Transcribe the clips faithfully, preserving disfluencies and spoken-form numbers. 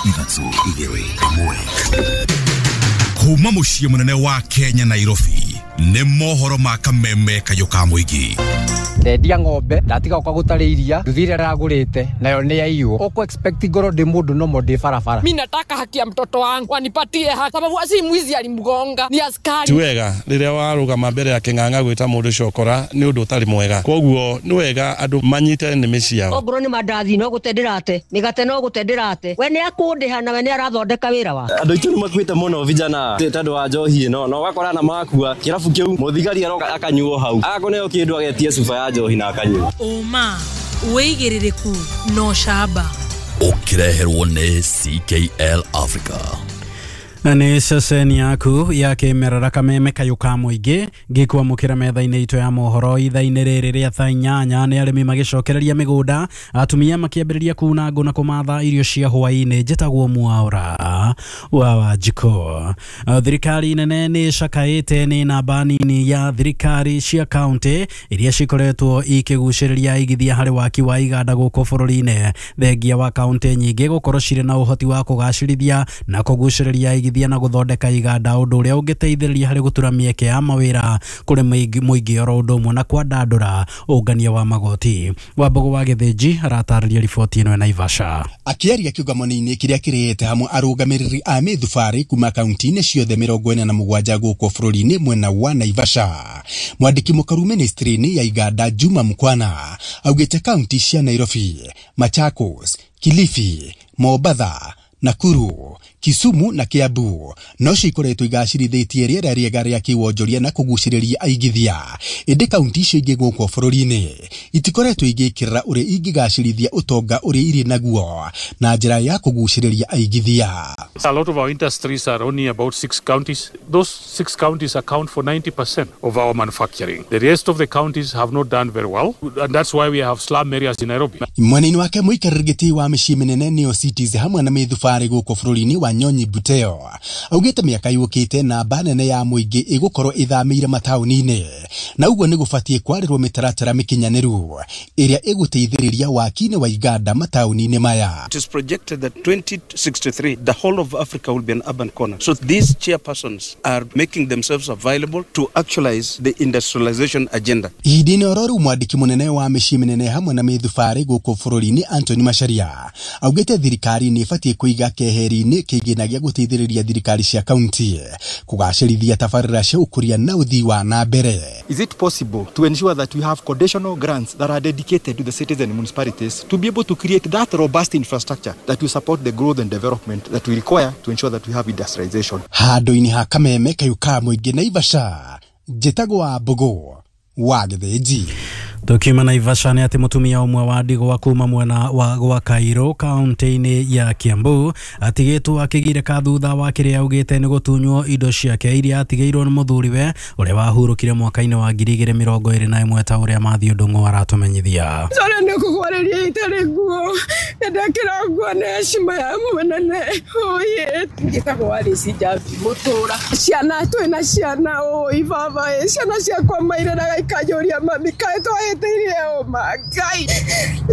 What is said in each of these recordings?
Ithatũ igĩrĩ ĩmwe. Kuma mũciĩ mũnene wa Kenya Nairobi nĩ mohoro ma kameme kayũ ka mũingĩ. Ndendia ng'ombe ndatiga kwa gũtarĩ iria nduthi ĩrĩa ndagũrĩte nayo nĩ yaiywo. Ũkũ expect ngorwo ndĩ mũndũ nomo ndĩ barabara. Mimi nataka haki ya mtoto wangu wanipatie haki, sababu si mwizi alimgonga, ni askari. Ti wega rĩrĩa warũgama mbere ya kĩng'ang'a gwĩta mũndũ cokora nĩ ũndũ ũtarĩ mwega, koguo nĩ wega andũ manyite nĩmĩ ciao. Ongorwo nĩ mandathi no gũte ndĩrate, mĩgate no gũte ndĩrate, we nĩ akũndĩha na we nĩ arathondeka wĩra wake. Andũ aitũ nĩ makuĩte mũno vijana tondũ wa njohi ĩno, na ũgakora na makua kĩrabu kĩu mũthigari aroka akanyuo hau akũneo kĩndũ agetie cuba ya njohi na akanyua. Ũma wĩigĩrĩrĩku no camba ũkĩreherwo nĩ C K L Africa. Na nĩ ceceni yaku ya kĩmerera kameme kayũ ka mũingĩ ngĩkwamũkĩra metha-inĩ itũ ya mohoro ithaa-inĩ rĩrĩ rĩa thaa inyanya. Nĩ arĩmi magĩcokereria mĩgũnda, atumia makĩambĩrĩria kuna ngũ na kũmatha irio cia hwaĩ-inĩ. Njĩtagwo Mwaura wa Wanjikũ. Thirikari nene nĩ ĩcakaĩte nĩ namba nini ya thirikari cia kaunti iria cikoretwo ikĩgucĩrĩria aigithia harĩ waki wa iganda gũkũ bũrũri-inĩ, thengia wa kaunti nyingĩ gũkorwo cirĩ na ũhoti wa kũgacĩrithia na kũgucĩrĩria aigithia na gũthondeka iganda, ũndũ ũrĩa ũngĩteithĩrĩria harĩ gũtura mĩeke ya mawĩra kũrĩ mũingĩ oro ũndũ ũmwe na kwandandũra ũngania wa magoti. Wambũgũ wa Gĩthĩnji aratarĩria riboti ĩno ya Naivasha. Akĩaria kĩũngano-inĩ kĩrĩa kĩrĩte hamwe arũgamĩrĩri a mĩthubarĩ kuma kaunti-inĩ ciothe mĩrongo ĩna na mũgwanja gũkũ bũrũri-inĩ mwena wa Naivasha, mwandĩki mũkaru ministry-inĩ ya iganda Juma Mkwana augĩte kaunti cia Nairobi, Machakos, Kilifi, Mombatha, Nakuru, Kisumu na Kiambu no cikoretwo igacĩrithĩtie rĩera rĩega rĩa kĩwonjoria na kũgucĩrĩria aigithia, ĩndĩ kaunti icio ingĩ gũkũ bũrũri-inĩ itikoretwo igĩkĩrĩra ũrĩa ingĩgacĩrithia ũtonga ũrĩa irĩ naguo na njĩra ya kũgucĩrĩria aigithia. A lot of our industries are only about six counties. Those six counties account for ninety percent of our manufacturing. The rest of the counties have not done very well, and that's why we have slum areas in Nairobi. Mwena-inĩ wake mũikarĩri gĩtĩ wa mĩciĩ mĩnene nĩyo cities hamwe na mĩthubarĩ gũkũ bũrũri-inĩ wa Wanyonyi Buteo augĩte mĩaka yũkĩte namba nene ya mũingĩ ĩgũkorwo ĩthamĩire mataũni-inĩ, na ũguo nĩ gũbatiĩ kwarĩrwo mĩtaratara mĩkinyanĩru ĩrĩa ĩgũteithĩrĩria waki-inĩ wa iganda mataũni-inĩ maya. It is projected that twenty sixty-three the whole of Africa will be an urban corner. So these chairpersons are making themselves available to actualize the industrialization agenda. Ihinda-inĩ oro rĩu mwandĩki mũnene wa mĩciĩ mĩnene hamwe na mĩthubarĩ gũkũ bũrũri-inĩ Anthony Macharia augĩte thirikari nĩ ĩbatiĩ kũiga keheri-inĩ kĩgĩna gĩa gũteithĩrĩria thirikari cia kaunti kũgacĩrithia tabarĩra cia ũkũria na ũthii wa na mbere. Is it possible to ensure that we have conditional grants that are dedicated to the cities and municipalities to be able to create that robust infrastructure that will support the growth and development that we require to ensure that we have industrialization? Handũ-inĩ ha kameme kayũ ka mũingĩ Naivasha, njĩtagwo Wambũgũ wa Gĩthĩnji. Tukiuma Naivasha nĩ atĩ mũtumia ũmwe wa ndigwa kuma mwena wa gwa Kairũ kaunti-inĩ ya Kiambu atigĩtwo akĩgirĩka thutha wa kĩrĩa augĩte nĩ gũtunywo indo ciake iria atigĩirwo nĩ mũthuriwe ũrĩa wahurũkire mwaka-inĩ wa ngiri igĩrĩ mĩrongo ĩrĩ na ĩmwe ta ũrĩa Matthew Ndung'u aratũmenyithia. Sore nĩ kũgwarĩria itarĩ nguo, ndekĩra nguo nĩ heshima ya mũnene. Oye, njĩtagwo Alice Njambi Mũtũra. Ciana twĩna ciana ũi baba ĩ, ciana ciakwa mairĩraga ikanjũria mami kaĩ twahĩtĩirie ũma. Ngai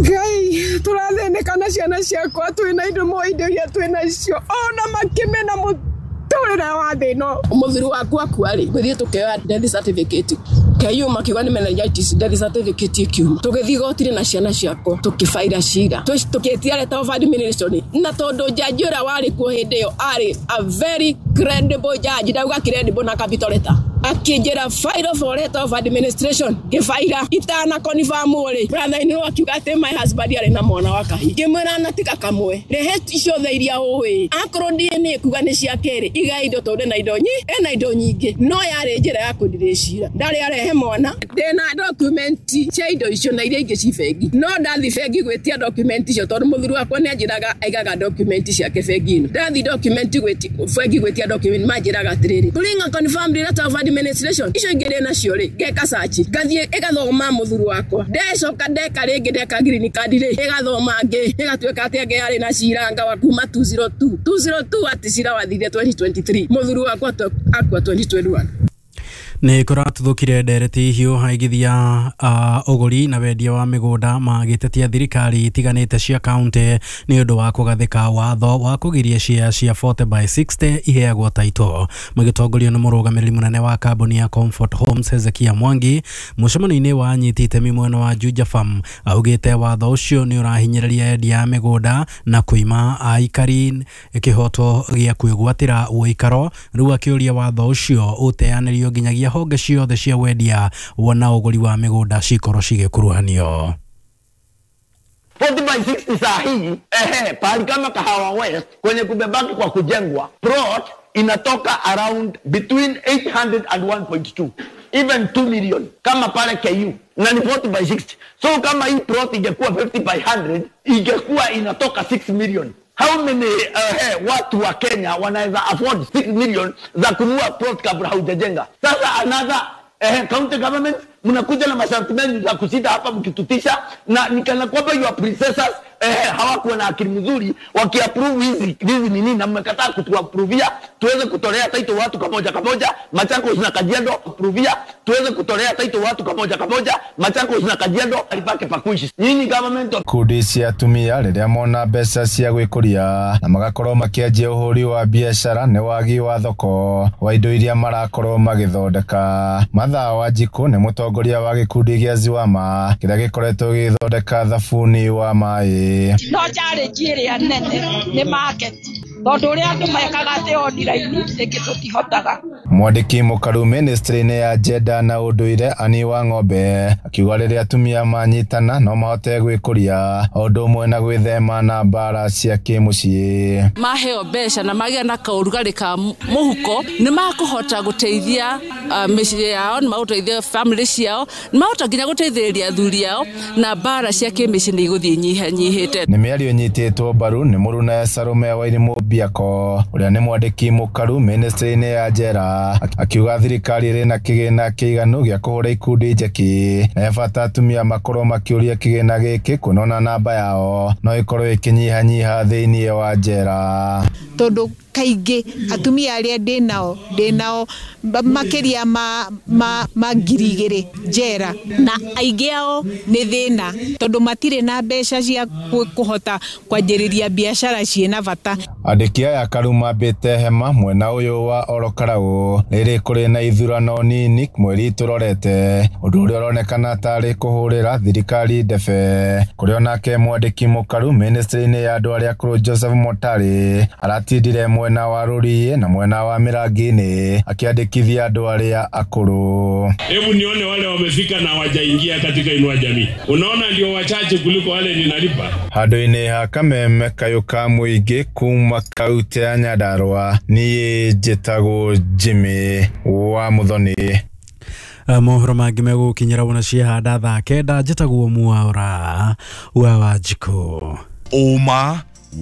Ngai tũrathĩnĩka na ciana ciakwa, twĩna indo mo indo iria twĩnacio ona makĩmena mũtũrĩre wa thĩ ĩno. Mũthuri waku akua rĩ, gũthiĩ tũkĩoya death certificate kĩyuma kiuga nĩ meningitis, death certificate ĩkiuma. Tũgĩthiĩ igoti-inĩ na ciana ciakwa tũkĩbaira cira, tũkĩtia letter of administration, na tondũ jaji ũrĩa warĩ kuo hĩndĩ ĩyo arĩ a very credible judge, ndauga credible na capital letter, akĩnjĩra file for letter of administration, ngĩbaira itana confirm rĩ, brother in law akiuga atĩ my husband arĩ na mwana wa kahii, ngĩmwĩra na tiga kamwe, rehe ciothe iria ũĩ, akorwo D N A kuga nĩ ciake rĩ, iga indo tondũ ena indo nyingĩ, ena indo nyingĩ, no yarĩ njĩra ya kũndirĩ cira, ndarĩ arehe mwana, ndĩna document cia indo icio na iria ingĩ ci bengi, no ndathi bengi gwĩtia document icio tondũ mũthuri wakwa nĩ anjĩraga aigaga document ciake bengi-inĩ, ndathi document gwĩtia bengi gwĩtia document manjĩraga atĩrĩrĩ, bring a confirmed letter of administration, icio ingĩ ndĩ nacio rĩ, ngeka search, ngathiĩ ĩgathoma mũthuri wakwa, ndecoka ndeka rĩngĩ ndeka green card rĩ, ĩgathoma ngĩ, ĩgatuĩka atĩ angĩ yarĩ na cira anga wa kuma two zero two, two zero two atĩ cira wathire twenty twenty-three, mũthuri wakwa akua twenty twenty-one. Nĩ kũratuthũkire ndereti hiũ aigithia uh, ũgũri na wendia wa mĩgũnda magĩtetia thirikari itiganĩte cia kaunti nĩ ũndũ wa kũgathĩka watho wa kũgiria share cia forty by sixty iheagwo taito. Magĩtongorio nĩ mũrũgamĩrĩri mũnene wa kambuni ya Comfort Homes Hezekia Mwangi mũcemanio-inĩ wa anyiti itemi mwena wa Juja Farm augĩte watho ũcio nĩ ũrahinyĩrĩria endia a mĩgũnda na kũima aikari kĩhoto gĩa kwĩgwatĩra ũikaro. Rĩu akĩũria watho ũcio ũteanĩrio nginyagia honge ciothe cia wendia na ũgũri wa mĩgũnda cikorwo cigĩkuruhanio. forty by sixty saa hii ehe, pahali kama Kahawa West kwenye kumebaki kwa kujengwa plot inatoka around between eight hundred and one point two even two million kama pale K U na ni forty by sixty. So kama hii plot ingekuwa fifty by hundred ingekuwa inatoka six million. How many uh, hey, watu wa Kenya wanaweza afford six million za kununua plot kabla haujajenga? Sasa another eh, county government mnakuja na masharti mengi za kusita hapa mkitutisha, na nikana kwamba your predecessors eh, hawakuwa na akili mzuri wakiapprove hizi hizi nini, na mmekataa kutuaprovia tuweze kutolea title watu kamoja kamoja. Machakos na Kajiado approvia tuweze kutolea title watu kamoja kamoja. Machakos na Kajiado alipake pakuishi nyinyi government. Kundi cia atumia rĩrĩa mona mbeca cia gwĩkũria na magakorwo makĩanjia ũhũri wa biacara nĩ wagi wa thoko wa indo iria marakorwo magĩthondeka. Mathaa wa Njikũ nĩ mũtongoria wa gĩkundi gĩa Ziwama kĩrĩa gĩkoretwo gĩgĩthondeka thabuni wa maĩ. No challenge ĩrĩa nene nĩ market, tondũ ũrĩa andũ mekaga atĩ online rĩngĩ tũtihotaga. Mwandĩki mũkaru ministry-inĩ ya Jenda na ũndũire Ani wa Ng'ombe akiuga rĩrĩa atumia manyitana no mahote gwĩkũria o ũndũ ũmwe na gwĩthema na mbara cia kĩmũciĩ. Maheo mbeca na magĩa na kaũrugarĩ ka mũhuko nĩ makũhota gũteithia mĩciĩ yao, nĩ magũteithia family ciao, nĩ mahota nginya gũteithĩrĩria athuri ao, na mbara cia kĩmĩciĩ nĩ igũthiĩ nyihanyihĩte. Nĩ mĩario ĩnyitĩtwo mbaru nĩ mũruna Salome Wairimu Biako ũrĩa nĩ mwandĩki mũkaru ministry-inĩ ya Jera akiuga thirikari ĩrĩ na kĩgĩna kĩiganu gĩa kũhũra ikundi njeki na bata atumia makorwo makĩũria kĩgĩna gĩkĩ kuonona namba yao no ĩkorwo ĩkĩnyihanyiha thĩinĩ wa njera. Tondũ kaingĩ atumia arĩa ndĩ nao ndĩ nao makĩria ma, ma, ma ngiri igĩrĩ njera, na aingĩ ao nĩ thĩna tondũ matirĩ na mbeca cia kũhota kwanjĩrĩria biacara ciĩna bata. Andĩki aya karu mambĩte hema mwena ũyũ wa Orokarau rĩrĩ kũrĩ na ithurano nini mweri tũrorete, ũndũ ũrĩa ũronekana tarĩ kũhũrĩra thirikari ndebe. Kũrĩ onake mwandĩki mũkaru ministry-inĩ ya andũ arĩa akũrũ Joseph Motari aratindire mwena wa Rũriĩ na mwena wa Mĩrangi-inĩ akĩandĩkithia andũ arĩa akũrũ. Hebu nione wale wamefika na wajaingia katika Inua Jamii. Unaona ndio wachache kuliko wale ninalipa. Handũ-inĩ ha Kameme kayũ ka mũingĩ kuma kaunti ya Nyandarua niĩ njĩtagwo Jimmy wa Muthoni. Mohoro mangĩ megũkinyĩra wona ciahanda thaa kenda. Njĩtagwo Mwaura wa Wanjikũ. Ũma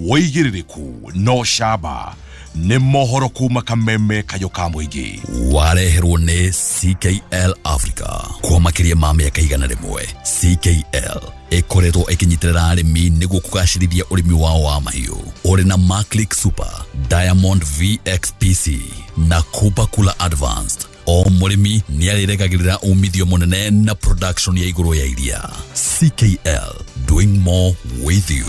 wĩigĩrĩrĩku no camba nĩ mohoro kuma Kameme kayũ ka mũingĩ wareherwo nĩ C K L Africa kwa makĩria ma mĩaka igana rĩmwe. C K L ĩkoretwo ĩkĩnyitĩrĩra arĩmi nĩguo kũgacĩrithia ũrĩmi wao wa mahiũ ũrĩ na Maclick Super, Diamond V X P C na Kupa Kula Advanced. O mũrĩmi nĩ arĩregagĩrĩra umithio mũnene na production ya igũrũ ya iria. C K L, doing more with you.